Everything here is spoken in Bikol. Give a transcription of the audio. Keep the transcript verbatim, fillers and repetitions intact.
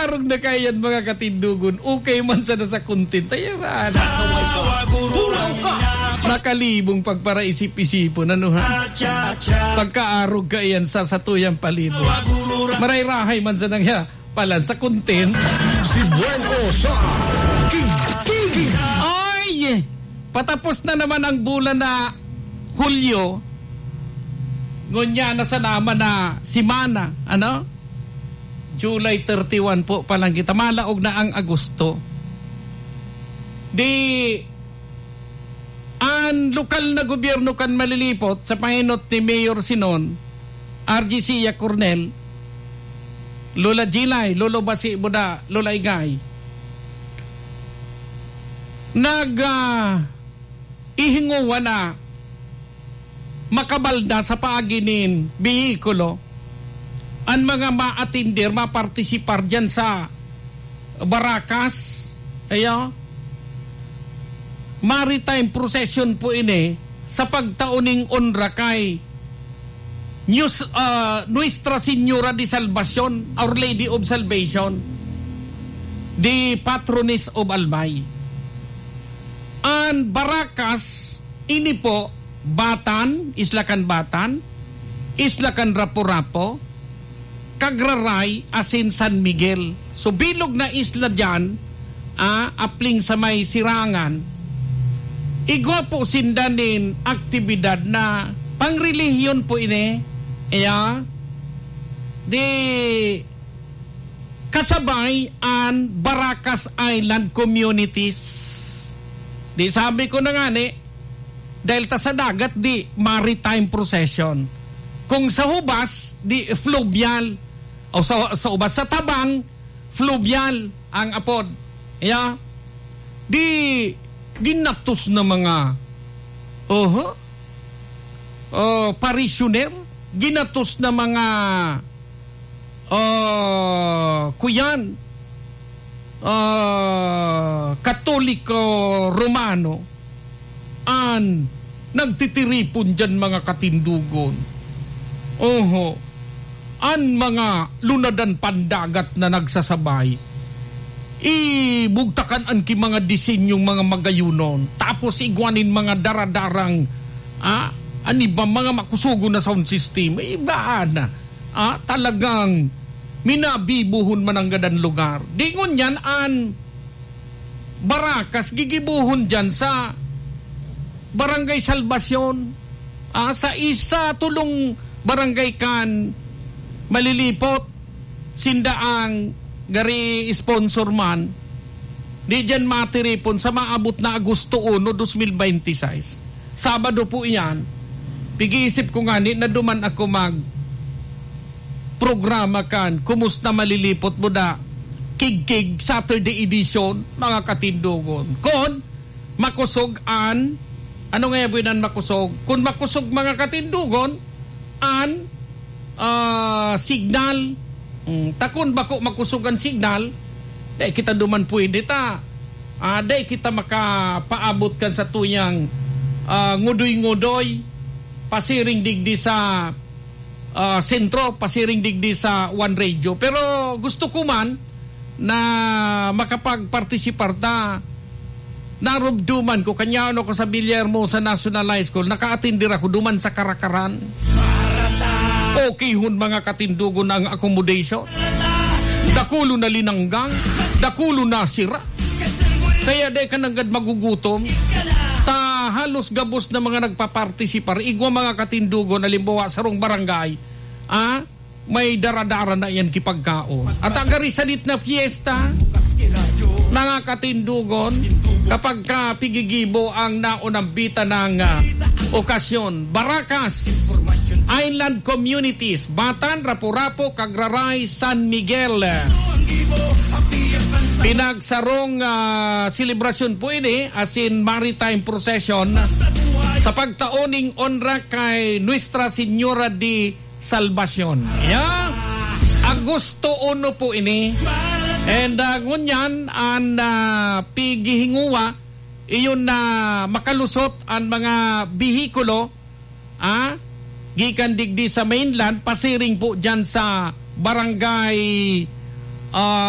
Arog na kaiyan, mga katindogon, okay man sana sa content. Ayan, ah, nakalibong pagparaisip-isipon, ano, ha? Pagkaarog kaiyan sa satuyang palibot. Maray-rahay man sana nga palan sa content. Si Buen O sa King King. Ay! Patapos na naman ang bulan na Hulyo. Ngunyan na sa naman na simana, ano? July thirty-one po pa lang kita. Malaog na ang Agosto. Di, ang lokal na gobyerno kan Malilipot, sa pahinot ni Mayor Sinon, R G Sia Cornel, Lola Jilay, Lolo Basi Buda, Lola Igay, nag, ah, ihinguwa na makabalda sa paagi nin behikulo an mga maatender, mapartisipar diyan sa Baracas. Ayo, maritime procession po ini sa pagtao ning onra kay News, ah, Nuestra Señora de Salvacion, Our Lady of Salvation, the Patroness of Albay. An Baracas, ini po, Batan, Isla kan Batan, Isla kan Rapu-Rapu, Cagraray, asin San Miguel. So, bilog na isla diyan, ah, apling sa may Sirangan. Igwa po sinda nin aktibidad na pangrelihiyon po ini. Iya, di kasabay an Baracas Island Communities. Di sabi ko na nga ni, dahil ta sa dagat, di maritime procession. Kung sa hubas, di fluvial. O sa, sa hubas, sa tabang, fluvial ang apod. Iya, di ginatos na mga, oho, oh, parishioner, ginatos na mga, oh, kuyan, ah, Katoliko Romano, an nagtitiripon diyan, mga katindogon. Oho. An mga lunadan pandagat na nagsasabay, ibugtakan an ki mga disenyong mga magayunon, tapos igwa nin mga daradarang, ah, an iba, mga makusogon na sound system. Iba na, ah, talagang minabibohon man nanggad an lugar. Di ngunyan an Baracas, gigibohon diyan sa Barangay Salvacion, ah, sa isa, tulong barangay kan Malilipot, sinda ang gari sponsor man. Di diyan matiripon sa maabot na Agosto uno, dos mil bente y seis. Sabado po iyan. Pig-iisip ko ngani na duman ako mag programa kan Kumusta Malilipot Buda, Kigkig, Saturday edition, mga katindogon. Kon makosog an, ano nga yabi nan makosog? Kun makosog, mga katindogon, an, ah, signal. Mm, ta kun bako makosog an signal, dai kita duman pwede ta. Ah, dai kita makapaabot kan satuyang, ah, ngudoy-ngudoy, pasiring digdi sa, ah, sentro, pasiring digdi sa One Radio. Pero gusto ko man na makapagpartisipar ta. Narumduman ko, kanya ako sa Villahermosa National High School, naka-attender ako duman sa Karakaran. Okay hon, mga katindogon, ang accommodation. Dakulo na linanggang, dakulo na sira. Kaya dai ka nanggad magugutom. Ta halos gabos na mga nagpapartisipar, igwa, mga katindogon, halimbawa, sarong barangay, ah, may daradara na iyan ki pagkaon. At agari sanit na piyesta, mga katindogon, kapag ka pigigibo ang naunambitan ng, ah, okasyon. Baracas, Island Communities, Batan, Rapu-Rapu, Cagraray, San Miguel. Pinagsarong, ah, selebrasyon po ini, asin maritime procession sa pagtao ning onra kay Nuestra Señora de Salvacion. Yeah? Agosto uno po ini. And, ah, ngunyan, an, ah, pighihinguwa, iyon na makalusot an mga behikulo, ah, gikan digdi sa mainland, pasiring po dyan sa barangay, ah,